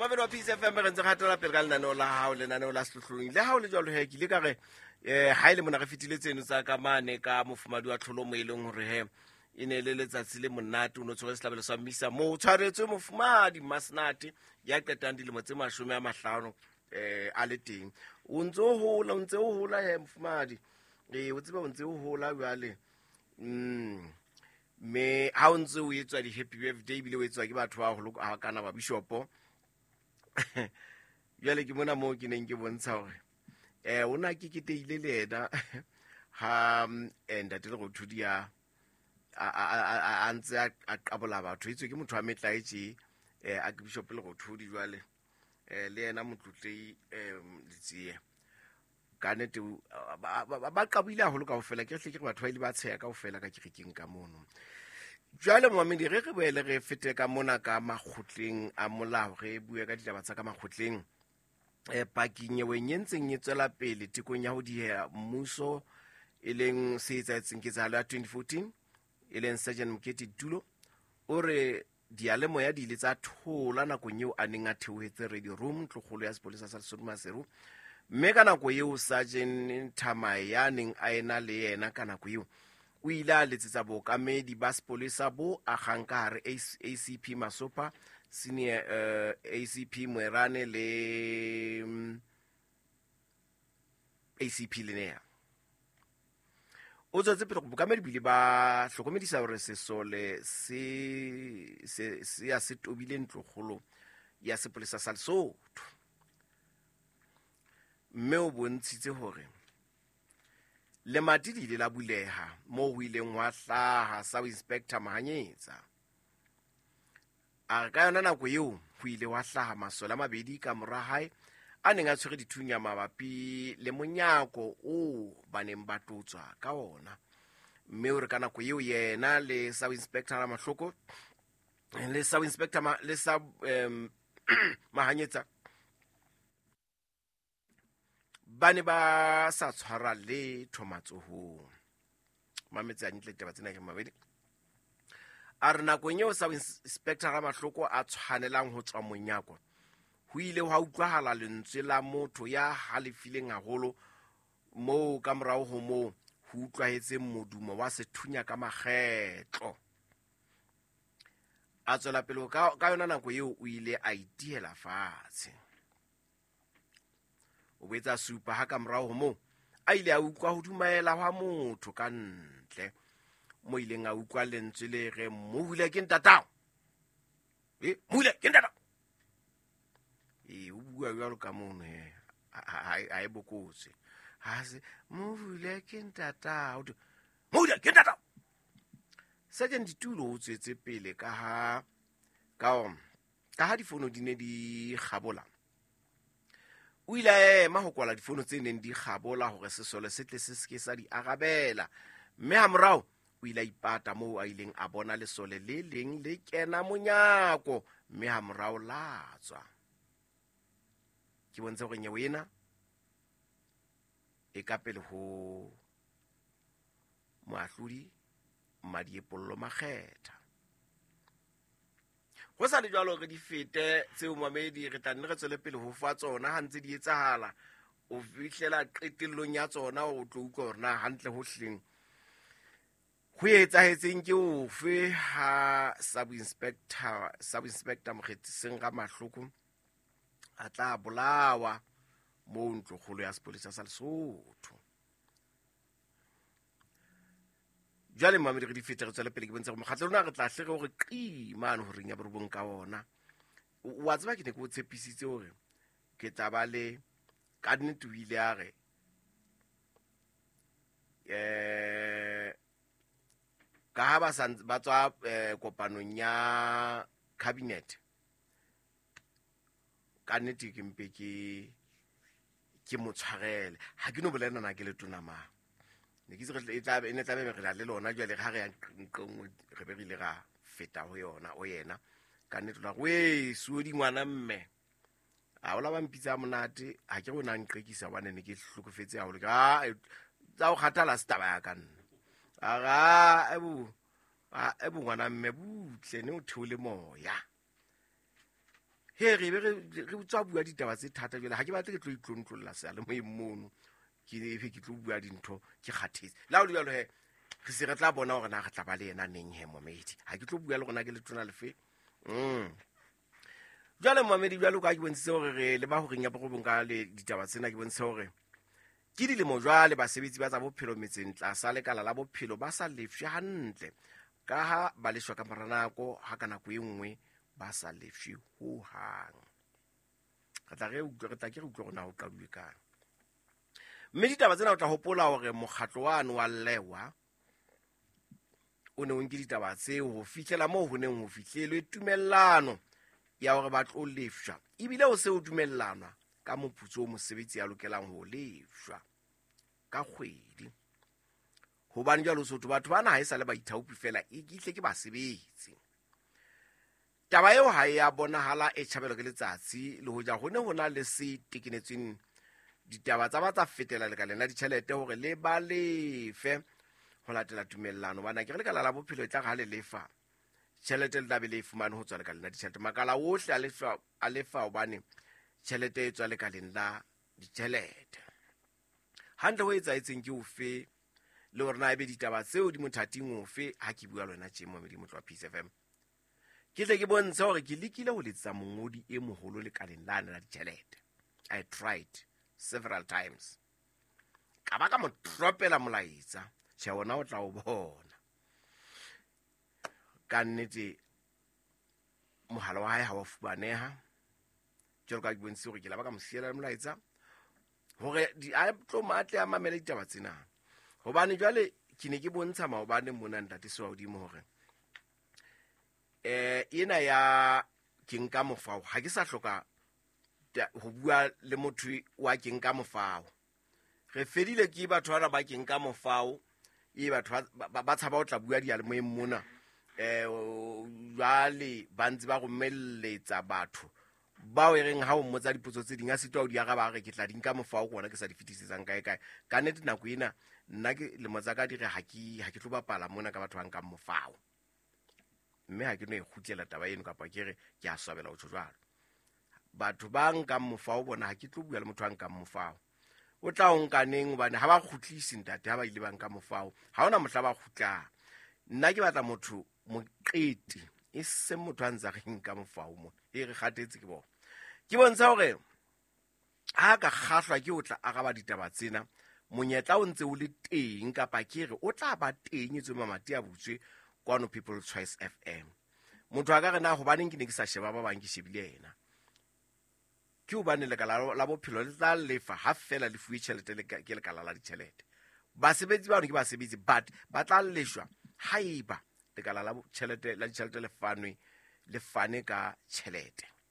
Momamedi wa Peace FM, re ntse re hatela pele ka lenaneo la hao, lenaneo la Sehlohlolong. Le ha o le jwalo he, ke ile ka re ha e le mona re fetile tseno tsa ka mane ka mofumadi wa tlholo, mo e leng hore he e ne le letsatsi le monate, o ne o tshwere sehlabelo sa mmisa moo o tshwaretswe mofumadi Mmasenate ya qetang dilemo tse 50 a le teng. O ntse o hola, o ntse o hola he mofumadi, o tseba o ntse o hola jwale. Mme ha o ntse o etswa di-happy birthday, ebile o etswa ke batho ba haholo ha kana ba bishopo. Jwale ke mona moo ke neng ke bontsha hore o na ke keteile le yena ha ntate Lerothodi a ntse a qabola batho, etswe ke motho wa metlae tje, Archbishop Lerothodi jwale le yena motlotlei Letsie. Ka nnete ba qaboile haholo kaofela, ke hle ke re batho ba ile ba tsheha kaofela ka kerekeng ka mono. Jwale momamedi, re re boele re fete ka mona ka makgotleng a molao, re bue ka ditaba tsa ka makgotleng. Pakeng nyeweng e ntseng e tswela pele tekong ya ho diheha mmuso, e leng se etsahetseng ketsahalo ya 2014, e leng Sergeant Mokete Tulo o re diyalemoya di ile tsa thola nakong eo a neng a theohetse radio room ntlokgolo ya sepolesa sa Lesotho Maseru, mme ka nako eo Sergeant Thamae ya neng a ena le yena ka nako eo o ile a letsetsa bookamedi ba sepolesa bo agang ka hare ACP Masopa, senior ACP Moerane le ACP Lenea. O tswetse pele go bokamedi bile ba hlokomedisa hore sesole se ya se tobile ntlokgolo ya sepolesa sa Lesotho, mme o bontshitse hore lemati le ile la buleha moo ho ileng hwa hlaha Sub Inspector Mahanyetsa. A re ka yona nako eo ho ile hwa hlaha masole a mabedi ka mora hae a neng a tshwere dithunya mabapi le monyako oo ba neng ba tlotswa ka ona, mme o re ka nako eo yena le Sub Inspector Ramahloko le Sub Inspector le Sub Mahanyetsa ba ne ba sa tshwara letho matsohong. Mametse hantle taba tsena ke mabedi. A re nakong eo Sub Inspector Ramahloko a tshwanelang ho tswa monyako, ho ile hwa utlwahala lentswe la motho ya halefileng haholo, moo ka morao ho moo ho utlwahetseng modumo wa sethunya ka makgetlo. A tswela pele ka yona nako eo o ile a itihela fatshe. O boetse a supa ha ka morao ho moo a ile a utlwa ho dumaela hwa motho ka ntle, mo ileng a utlwa lentswe le re mohule ke ntatao. Mohule ke ntatao. O bua jwalo ka mono he, ha e bokotse. Ha se mohule ke ntatao, mohule ke ntatao. Sergeant Ditulo o tswetse pele ka ha difono di ne di kgabola. O ile a ema ho kwala difono tse neng di kgabola hore sesole se tle se seke sa di arabela, mme hamorao o ile a ipata moo a ileng a bona lesole le leng le kena monyako, mme hamorao la tswa. Ke bontshe hore nyewe ena e ka pele ho moahlodi Madiepollo Makgetha. Ho sa le jwalo re di fete tseo mamedi, re tla nne re tswele pele ho fa tsona ha ntse di etsahala, o fihlela qetellong ya tsona o tlo utlwa hore na hantle ho hleng ho etsahetseng ke ofe ha Sub Inspector Mokgethiseng Ramahloko a tla bolawa moo ntlokgolo ya sepolesa sa Lesotho. Jwale mamedi re di fete re tswele pele, ke bontshe gore mokgatlo lona re tla hle re hore qi mane horeng ya borobong ka ona. Wa tseba ke ne ke o tshepisitse hore ke tla ba le ka nnete, o ile a re ka ha ba sa ba tswa kopanong ya cabinet, ka nnete ke mpe ke mo tshwarele. Ha ke no bolela na ke le tona mang, ne ke itse re e tla be, e ne tla be re na le lona jwale ha re ya nqong re be re ile ra feta ho yona o yena. Ka nnete la re, suodi ngwana mme, a ola ba mpitsa monate, ha ke re o na nqekisa hobane ne ke hlokofetse haholo. Ke tsa ho kgathala se taba ya ka nna. A re, a, e bo ngwana mme, butle ne o theole moya. He re be re tswa bua ditaba tse thata jwale, ha ke batle ke tlo itlontlolla seyalemoyeng mono, ke be ke tlo bua dintho ke kgathetse. Le ha ho le jwalo he, re se re tla bona hore na re tla ba le yena neng he momedi. Ha ke tlo bua le rona ke letona lefe. Jwale momedi, jwalo ka ke bontshitse hore re le ba horeng ya borobong ka le ditaba tsena, ke bontshe hore ke dilemo jwale basebetsi ba tsa bophelo metseng tlasa lekala la bophelo ba sa lefshwe hantle, ka ha ba leshwa ka mora nako, ha ka nako e nngwe ba sa lefshwe hohang. Re tla re utlwe, re tla ke re utlwe hore na ho qaduwe kang. Mme ditaba tsena o tla hopola hore mokgatlo wano wa Lewa o ne o nke ditaba tseo ho fihlela moo ho neng ho fihlelwe tumellano ya hore ba tlo lefshwa, ebile ho se ho dumellanwa ka moputso o mosebetsi a lokelang ho lefshwa ka kgwedi. Hobane jwalo Sotho, batho bana ha e sa le baithaopi fela, e tle ke basebetsi. Taba eo ha e a bonahala e tjhabelwa ke letsatsi, le hoja ho ne ho na le se tekenetsweng ditaba tsa ba tsa fetela lekaleng la ditjhelete hore le ba lefe ho latela tumellano. Hobane akere lekala la bophelo e tla re ha le lefa tjhelete, le tla be le e fumane ho tswa lekaleng la ditjhelete. Makala ohle a lefa hobane tjhelete e tswa lekaleng la ditjhelete. Hantle ho etsahetseng ke ofe, le hore na ebe ditaba tseo di mothating ofe ha ke bua le wena tje Momedi Motlo wa Peace FM. Ke tle ke bontshe hore ke lekile ho letsetsa mongodi e moholo lekaleng lane la ditjhelete. I tried several times. Ka ba ka mo tropela molaetsa. Tjhe, ona o tla o bona. Ka nnete mohala wa hae ha wa fumaneha. Jwalo ka ke bontshitse hore ke la ba ka mo siela molaetsa hore a tlo matle a mamele ditaba tsena. Hobane jwale ke ne ke bontsha maobane mona ntate Sewahodimo hore ena ya ke nka mofao, ha ke sa hloka ho bua le motho wa ke nka mofao. Re fedile ke batho bana ba ke nka mofao, e batho ba tshaba ho tla bua diyalemoyeng mona. Jwale ba ntse ba romelletsa batho bao e reng ha o mmotsa dipotso tse ding a sitwa ho di araba, a re ke tla di nka mofao ke ona ke sa di fetisetsang kae kae. Ka nnete nako ena nna ke lemo tsa ka di re ha ke tlo bapala mona ka batho ba nkang mofao. Mme ha ke no e kgutlela taba eno, kapa ke re ke a swabela ho tjho jwalo. Batho ba nkang mofao bona ha ke tlo bua le motho a nkang mofao. O tla o nka neng? Hobane ha ba kgutlise ntate, ha ba ile ba nka mofao, ha hona mohla ba kgutlang. Nna ke batla motho moqete, e seng motho a ntsa re nka mofao mona. E re kgathetse ke bona. Ke bontsha hore ha ka kgahlwa ke o tla araba ditaba tsena, monyetla o ntse o le teng, kapa ke re o tla ba teng, e tswe mamati a butswe kwano People's Choice FM. Motho a ka re na hobaneng ke ne ke sa sheba ba bang, ke shebile yena. Ke hobane lekala la bophelo le tla lefa ha fela le fuwe tjhelete le ke lekala la ditjhelete. Basebetsi bano ke basebetsi, but ba tla leshwa haeba lekala la tjhelete la ditjhelete le fanwe, le fane ka tjhelete.